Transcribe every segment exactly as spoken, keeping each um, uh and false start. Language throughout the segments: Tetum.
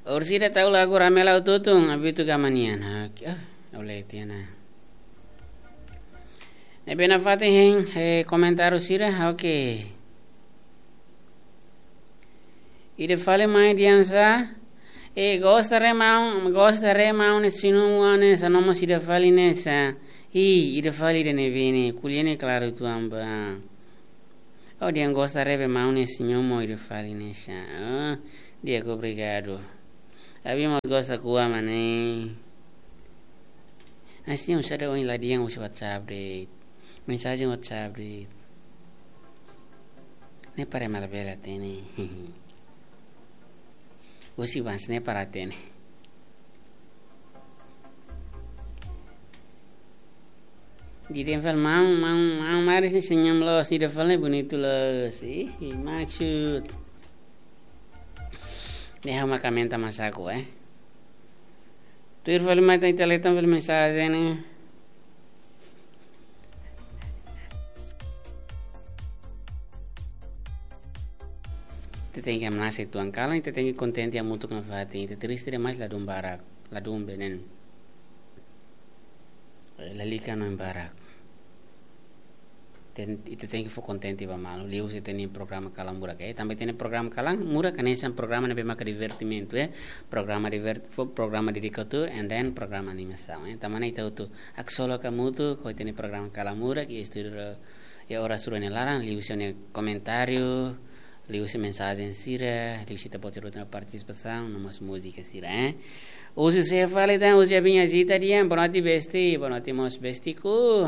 Orsida tau lagu Ramela Ututun, abitu gamanian. Oke, ah, oleh tiana. Ne'ebé nafatin hein, eh, komentáriu sira, oke. Ida fali mai diam sa. E gosta re maun, gosta re maun ne'e sinu wane sa nomo sida fali ne'e sa. I, ida fali ida ne'ebé ne'e, kuliah ne'e klaru tuan ba. Oh, diam gosta re be maun ne'e sinu mo ida fali ne'e sa. Oh, di'ak obrigadu. Abi mós gosta kua mane. Asi um sada oin la diam usi WhatsApp de. Mensajen WhatsApp de. Ne'e para mala bela tene. Usi bans ne'e para tene. Di tempel mau, mau, mau maris ni senyum los, di depan ni bonitu los. Ih, maksud. Ne'e ha'u maka menta masaku, eh. Tuir fali mai tan ita letan fali mensajen ne'e. Ita tenke hamnasa uitoan, kalan ita tenke kontente hamutuk nafatin, ita triste demais ladún barak, ladún benen. Eh, lalika hanoin barak. Ten-, ita tenke fó kontente ba malu, liuhusi ita-nia programa kalan murak, eh. Tanba ita-nia programa kalan murak, hanesan programa ne'ebé maka divertimentu, eh. Programa divert-, fó programa dedikadu, and then programa animasaun, eh. Tanba ne'e ita hotu haksolok hamutuk, ho ita-nia programa kalan murak, iha estúdiu, iha oras rua nia laran, liuhusi nia komentáriu, liuhusi mensajen sira, liuhusi ita-boot hotu-hotu nia partisipasaun, no mós múzika sira, eh. Husi sé fali tan, husi Abin Azita dehan, boa noite besti, boa noite mós bestiku.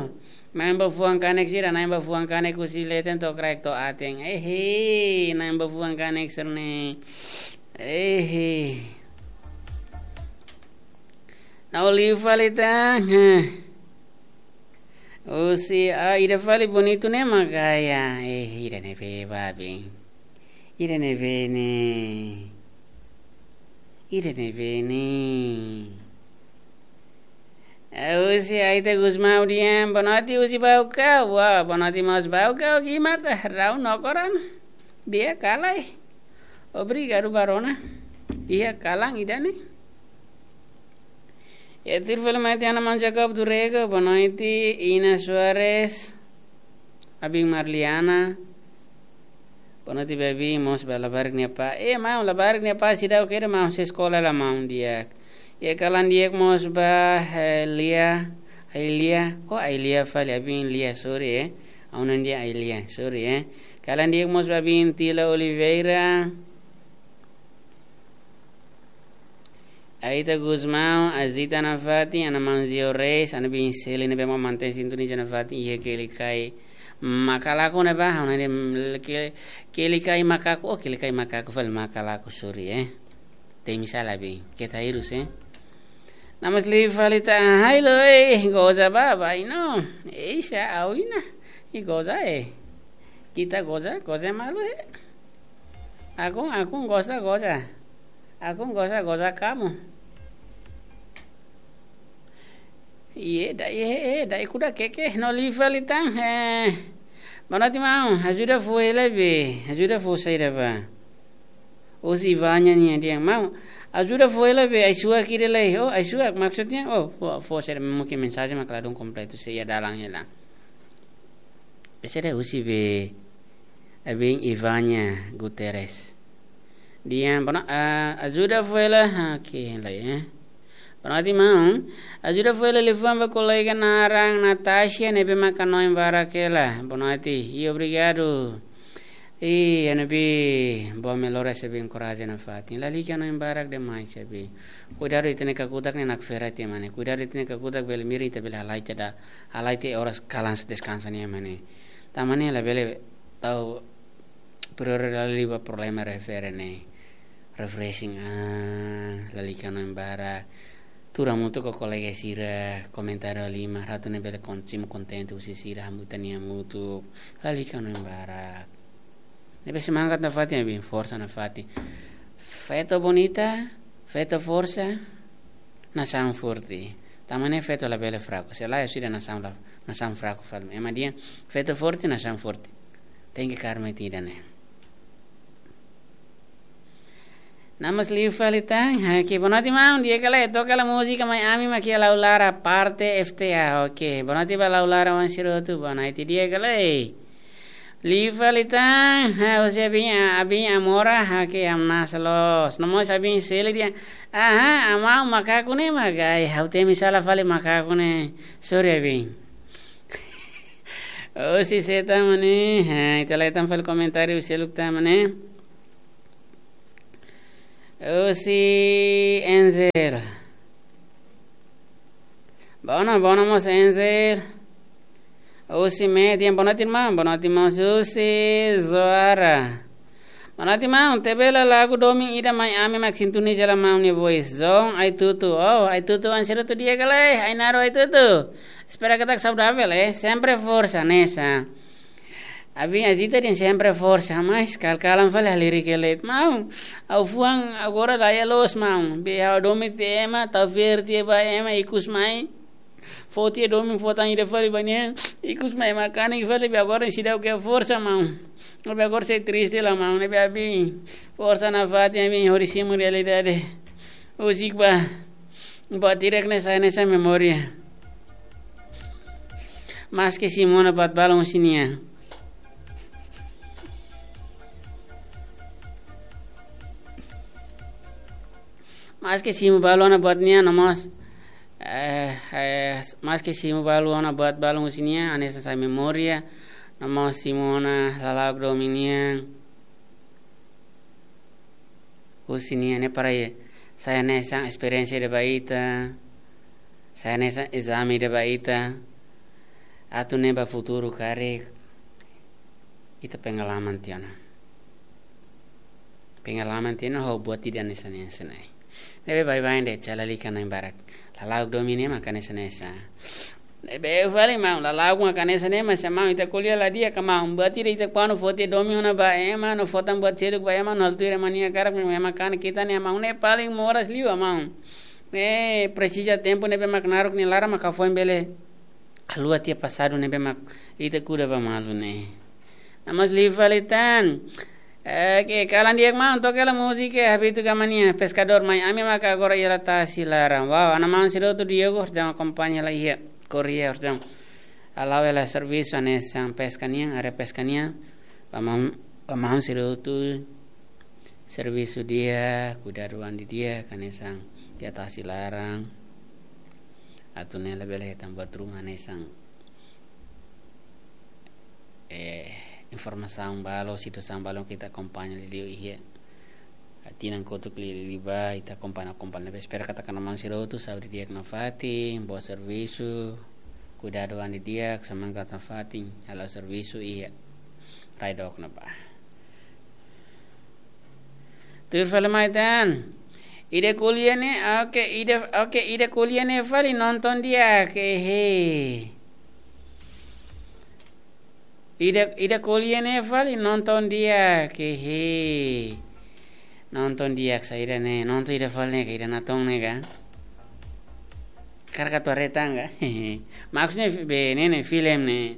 Na'in ba fuan kanek sira, na'in ba fuan kanek husi leten to'o kraik to'o aten. Ehe, na'in ba fuan kanek sira-ne'e. Ehe. Na'in liu fali tan, heh. Husi, ah, ida fali bonitu ne'e mak gaya. Eh, ida ne'ebé babi. Ida ne'ebé ne'e. Ida ne'ebé ne'e. Eh, husi Aita Gusmão dehan, boa noite husi Baucau. Wah, boa noite mós Baucau, gimata, rau no koran. Di'ak ka lae. Obrigadu ba rona. Iha kalan ida-ne'e. E tuir fali mai tan Ana Maun Jacob do Rego, boa noite, Ina Soares, Abin Marliana, boa noite, baby, mós ba labarik nia apá. Eh, maun, labarik nia apá, seidauk kedas, maun, sei eskola hela, maun, di'ak. E kalan di'ak mós ba, eh, Lia, Ailia, oh, Ailia fali, Abin Lia, sorry, eh. Auna dehan Ailia, sorry, eh. Kalan di'ak mós ba Abin Tila Oliveira. Aita Gusmão, Azita nafatin, Ana Maun Zio Reis, Ana Bin Seli ne'ebé mak mantein sintonia nafatin, iha Kelikai Makalaku ne'ebá, Ana de Ke-, Kelikai Makaku, oh, Kelikai Makaku fali Makalaku, sorry, eh. Temi sala be, keta hirus, eh. Namas liu fali tan, hai lo, eh, goza ba, ba, ino. Eh, sa, au ina. I goza, eh. Kita goza, goza malu, eh. Aku, aku goza, goza. Aku goza, goza kamu. Iye, da, iye, eh, da, ikuda keke, no liu fali tan, eh. Boa noite, maun. Ajuda fó hela be, ajuda fó saida ba. Husi Ivania nian dehan, maun, ajuda fó hela be, ai-suak ida lai. Oh, ai-suak, maksudnya, oh, fó, fó saida, mungkin mensajen mak ladún kompletu, sei iha dalan hela. Ese de husi be, Abin Ivania Guterres. Dehan, boa no-, ah, ajuda fó hela, ah, oke, lai, eh. Boa noite, maun. Ajuda fó hela liafuan ba kolega naran Natasha ne'ebé mak hanoin barak hela. Boa noite. I obrigadu. I, Ana Bin, boa melhoras, Abin, korajen nafatin. Lalika hanoin barak demais, Abin. Kuidadu ita-nia kakutak ne'e nakfera tiha mane. Kuidadu ita-nia kakutak bele mirin ita bele halai tiha da, halai tiha oras kalan deskansa nian mane. Tanba ne'e labele tau prioridade liu ba problema refere ne'e. Refreshing, ah, lalika hanoin barak. Tuur hamutuk ho kolega sira, komentáriu halimar, atu nune'e bele kon-, simu kontente husi sira, hamutuk ita-nia hamutuk. Lalika hanoin barak. Ne'ebé semangat nafatin, Abin, forsa nafatin. Feto bonita, feto forsa, nasaun forte. Tanba ne'e feto labele fraku. Se lae, sudah nasaun la, nasaun fraku fali. Ema dehan, feto forte, nasaun forte. Tenke karma ida-ne'e. Namas liu fali tan, oke, boa noite maun, di'ak ka lae, toka hela múzika mai ami mak iha Laulara parte F T A, oke, boa noite ba Laulara oan sira hotu, boa noite, di'ak ka lae. Liu fali tan, ha, husi abin, abin Amora, oke, hamnasa loos, no mós abin Seli dehan, aha, amau makaku ne'e mak, ai, ha'u temi sala fali makaku ne'e, sorry abin. Husi sé tan mak ne'e, ha, ita lai tan fali komentáriu seluk tan mak ne'e. Husi Enzel. Boa noite, boa noite mós Enzel. Husi Median, boa noite irmão, boa noite irmão. Husi Zoara. Boa noite irmão, tebela lagu domin ida mai ami mak sintoniza hela maun nia voice. Zon, Aitutu, oh, Aitutu oan sira hotu di'ak ka lae, Ainaro Aitutu. Espera katak saudável, eh, sempre forsa, nesa. Abin Azita dehan sempre forsa, mas kal-kalan fali halerik elet. Maun, ha'u fuan agora daya loos maun. Be ha'u domin tiha ema, tau fiar tiha ba ema, ikus mai. Fó tiha domin fó tan ida fali ba nia. Ikus mai makanek fali be agora seidauk iha forsa maun. Be agora sei triste la maun, ne'ebé abin. Forsa nafatin abin hodi simu realidade. Husik ba. Buat ida ne'e sai hanesan memória. Maske simu ona buat balun husi nia. Maske simu balun ona buat nia, no mós, eh, eh, maske simu balun ona buat balun husi nia, hanesan sai memória, no mós simu ona lala'ok domin nian. Husi nia ne'e para sai hanesan esperiénsia ida ba ita, sai hanesan ezame ida ba ita, atu nune'e ba futuru karik ita pengalaman tiha ona. Pengalaman tiha ona ho buat ida hanesan ne'e hanesan ne'e. Ne'ebé baibain de'it, sala lika na'in barak. Lala'ok domin nian maka hanesan ne'e hanesan. Ne'ebé fali maun, lala'ok maka hanesan ne'e, mas maun ita ko'alia la di'ak ka maun. Buat ida ita kuandu fó tiha domin ona ba ema, no fó tan buat seluk ba ema, no halo tuir ema nia hakarak, ema kanek ita ne'e maun ne'e paling moras liu maun. Ne'e presiza tempu ne'ebé mak naruk nia laran mak foin bele haluha tiha pasadu ne'ebé mak ita kuda ba malu ne'e. Namas liu fali tan. Eh, ke kalan di'ak maun, toka hela múzika, Habitu Gama nia, Peskadór mai ami maka agora iha tasi laran. Wow, ana maun sira hotu Diogo, horjam akompaña hela iha Korea, horjam. Hala'o hela servisu hanesan peska nian, área peska nian. Ba maun, ba maun sira hotu servisu di'ak, kuidadu an didi'ak, hanesan iha tasi laran. Atu nune'e labele hetan buat ruma hanesan, eh, informasaun balu, situasaun balu ita akompaña liuliu iha tinan kotuk liuliu ba, ita akompaña, akompaña. Ne'ebé espera katak ana maun sira hotu saúde di'ak nafatin, boa servisu, kuidadu an didi'ak, semangat nafatin, hala'o servisu iha rai dook ne'ebá. Tuir fali mai tan. Ida ko'alia ne'e, oke, ida, oke, ida ko'alia ne'e fali nonton di'ak, he. Ida, ida ko'alia ne'e fali nonton di'ak, he. Nonton di'ak saida ne'e, nonton ida fali ne'e ka, ida natoon ne'e ka. Hakarak atu haree tan ka. Maksudnya be ne'e ne'e film ne'e.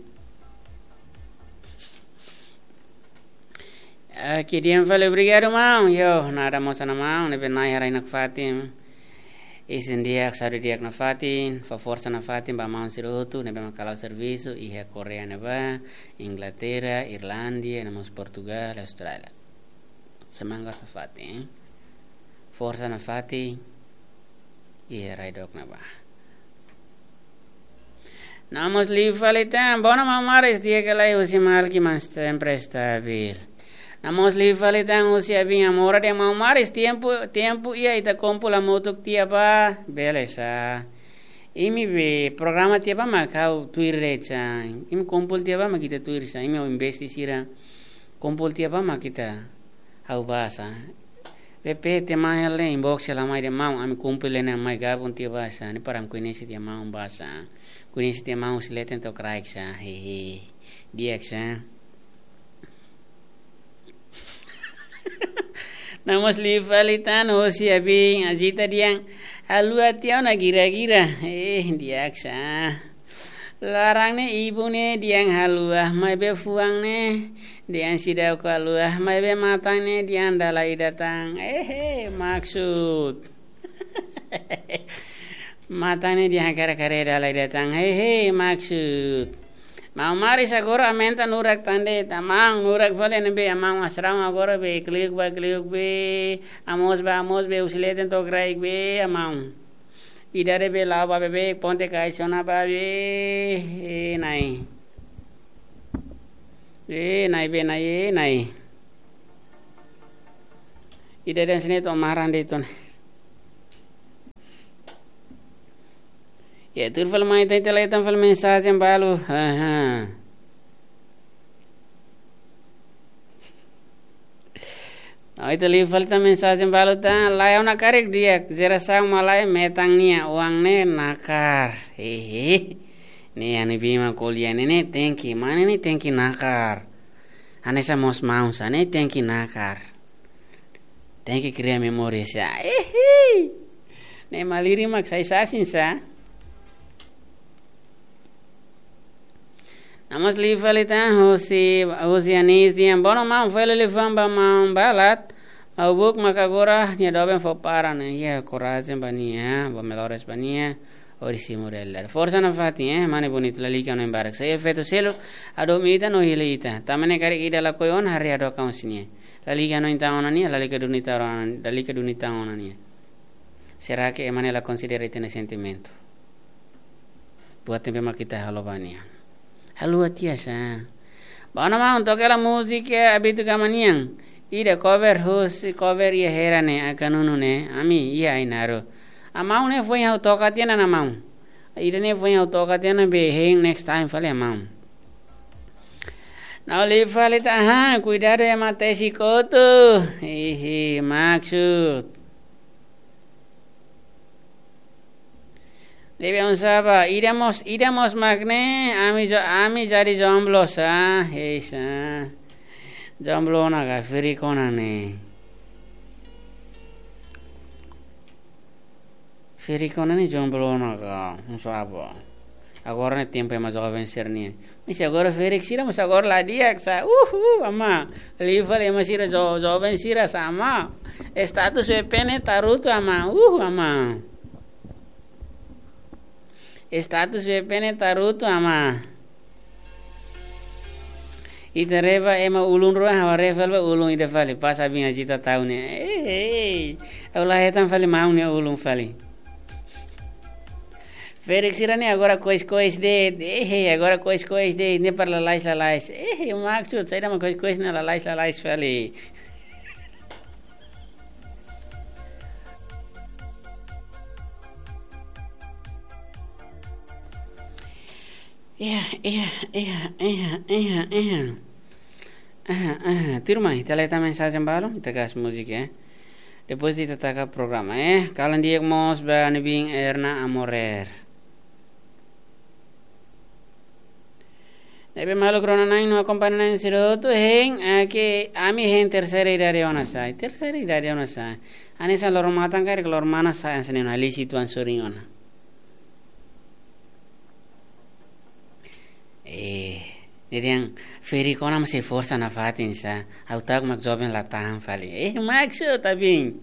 Oke, di'ak fali, obrigadu maun. Yo, nada mós ana maun, ne'ebé Nai harai nafatin. Isin di'ak, saúde di'ak nafatin, fó forsa nafatin ba maun sira hotu ne'ebé mak hala'o servisu iha Korea ne'ebá, Inglaterra, Irlandia, no mós Portugal, Austrália. Semangat nafatin. Forsa nafatin. Iha rai dook ne'ebá. Namas liu fali tan, boa noite maun Maris, di'ak ka lae, husi Malki mas sempre stabil. Namas liu fali tan, husi abin Amora dehan maun Maris, tempu, tempu iha ita kumpul hamutuk tiha ba, bele sa. Imi be programa tiha ba mak ha'u tuir de'it sa. Imi kumpul tiha ba mak ita tuir sa. Imi ho investi sira kumpul tiha ba mak ita ha'u bá sa. Be pe te mai hela inbox hela mai dehan maun, ami kumpul hela ne'e mai gabung tiha ba sa. Ne'e para ami koñese tiha maun ba sa. Koñese tiha maun husi leten to'o kraik sa. Hehe. Di'ak sa. Namas liu fali tan, husi abin Azita dehan haluha tiha ona gira-gira. Eh, di'ak sa. Laran ne'e ibun ne'e dehan haluha, maibé fuan ne'e dehan seidauk haluha, maibé matan ne'e dehan dala ida tan. Ehe, maksud. Matan ne'e dehan hakarak haree dala ida tan. Ehe, maksud. Maun Maris agora aumenta nurak tan de'it, amaun, nurak fali ne'ebé, amaun, asraun agora be, kliuk ba, kliuk be, amoos ba, amoos be, husi leten to'o kraik be, amaun. Idade be la'o ba beibeik, ponte kaixona ba be, eh, Na'i. Eh, Na'i be, Na'i, eh, Na'i. Idade hanesan ne'e to'o maran de'it ona. Ya, tuur fali mai, ita, ita la hetan fali mensajen balu. Aha. Ó, ita liu fali tan mensajen balu tan, laiha ona karik di'ak, jerasaun malae metan nia, oan ne'e nakar. Hehe. Ne'e, ha'u-nia biin mak ko'alia ne'e, ne'e tenke, mane ne'e tenke nakar. Hanesan mós maun sira, ne'e tenke nakar. Tenke kria memória sira. Hehe. Ne'e malirin mak sai sasin sá. Ita mós liu fali tan, husi, husi Anis dehan, bono maun, fó hela liafuan ba maun Balat, maubuk maka agora nia doben fó para ne'e. Ya, korajen ba nia, boa melhoras ba nia, hodi simu realidade. Forsa nafatin, eh, mane bonitu, lalika no embarque. Sai efeitu seluk, hadomi ita no hili ita. Tanba ne'e karik ida lakohi ona, haree hadook an husi nia. Lalika no ita ona nia, lalika duni ita ona, lalika duni ita ona nia. Será que ema ne'e la konsidera ita-nia sentimentu? Buat ne'ebé mak ita halo ba nia. Haluha tiha sá. Bono maun, toka hela múzika Abitu Gama nian. Ida cover husi, cover iha Hera ne'e, Akanunu ne'e. Ami iha Ainaro. Amaun, ne'e foin ha'u toka tiha ona, maun. Ida ne'e foin ha'u toka tiha ona be, hein, next time fali, maun. Ó liu fali tan, aha, kuidadu ema tesi kotu. Hehe, maksud. Ne'ebé oinsá ba, ida mós, ida mós mak ne'e, ami jo-, ami jadi jomblo sá, hei sá. Jomblo ona ka, ferik ona ne'e. Ferik ona ne'e jomblo ona ka, oinsá ba. Agora ne'e tempu ema joven sira-nian. Mas agora ferik sira, mas agora la di'ak sá. Uh, uh, amá. Liu fali ema sira jo-, joven sira sá, amá. Status B P ne'e tarutu, amá. Uh, amá. Status B P ne'e tarutu, amá. Ita haree ba ema ulun rua, ha'u haree fali ba ulun ida fali, pas abin ajita tau ne'e. Eh, eh. Ha'u la hetan fali maun nia ulun fali. Ferik sira-ne'e agora kois-kois de'it. Eh, eh, agora kois-kois de'it. Ne'e para lalais-lalais. Eh, eh, maksud saida mak kois-kois ne'e lalais-lalais fali. Iya, iya, iya, iya, iya, iya. Aha, aha. Tuirmai, ita la hetan mensajen balu, ita gas múzika, eh. Depois ita taka programa, eh. Kalan di'ak mós ba ha'u-nia biin Erna Amorer. Ne'ebé maluk rona-na'in no akompaña-na'in sira hotu, hein, ake, ami hein terseira idade ona sá. Terseira idade ona sá. Hanesan loro-matan karik loro-manas sá, hanesan ne'e ona, hili situan sorin ona. Eh, ne'e dehan ferik ona mós sei forsa nafatin sá. Ha'u ta'uk mak joven la tahan fali. Eh, maksud abin.